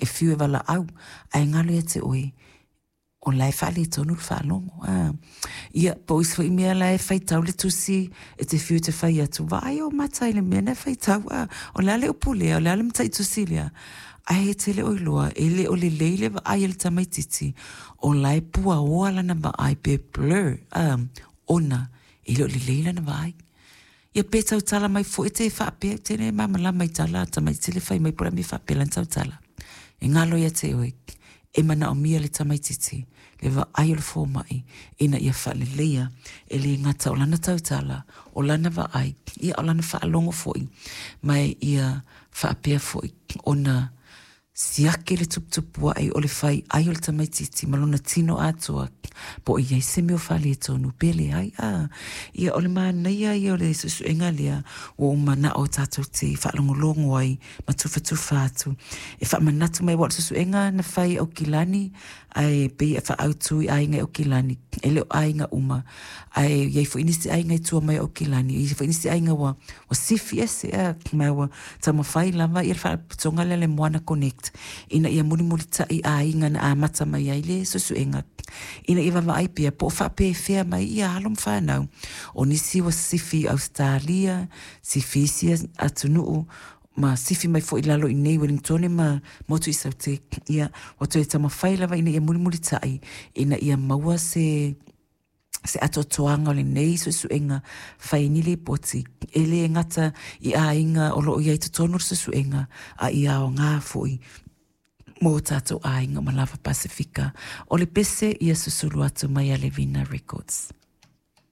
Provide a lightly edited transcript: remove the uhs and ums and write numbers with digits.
E fiu e valaau ae galo ia te oe o la e faaletonu le faalogo. A. Ia, po o isi foi mea la e faitau le tusi, e te fiu e te fai atu, vaai ou mata i le mea na e faitau, a. O le a le upu lea, o le a le mataitusi lea? Ae e te le o iloa, e le o lelei le vaai a le tamaitiiti, o la e puaoa lana vaai pe blur, a, ona e le o lelei lana vaai. Ia pe tautala mai foi te faapea, te le malamalama i tala a tamaiti le fai mai po o le a le mea e faapea lana tautala. E galo ia te oe, e manaomia le tamaititi le vaai o le fomai ina ia faaleleia e le gata o lana tautala, o lana vaai, ia o lana faalogo foi, ma ia faapea foi ona siaki le tuputupuaʻe o le fai ai o le tamaititi ma lona tino atoa po o i ai se mea o faaletonu pe leai. A, ia o le manaia ia o le suesuega lea ua ou manao tatou te faalogologo ai ma tufatufa atu e faamanatu mai aua o le suesuega na fai e Aukilani ae pei e faaautu i aiga i Aukilani e le o aiga uma ae i ai foi nisi aiga i tua mai o Aukilani, e i ai foi nisi aiga ua ua sifi ese ea, ma ua taumafai lava ia le faalapotopotoga lea le Moana Connect ina ia mulimulitaʻi aiga na amata mai ai le suesuega ina ia vaavaai pea po o faapefea mai ia alo ma fanau. O nisi ua sifi i Ausetalia, sifi i isi atunuu ma sifi mai foi i lalo i inei i Ueligitone ma Motu i Saute, ia ua toe taumafai lava ina ia mulimulitaʻi ina ia maua se se atoatoaga o lenei suesuega fai ni lipoti e le gata i aiga o lo o i ai i totonu o le suesuega a ia aoga foi mo tatou aiga ma lava Pasefika. O le pese ia susulu atu mai a Levina Records.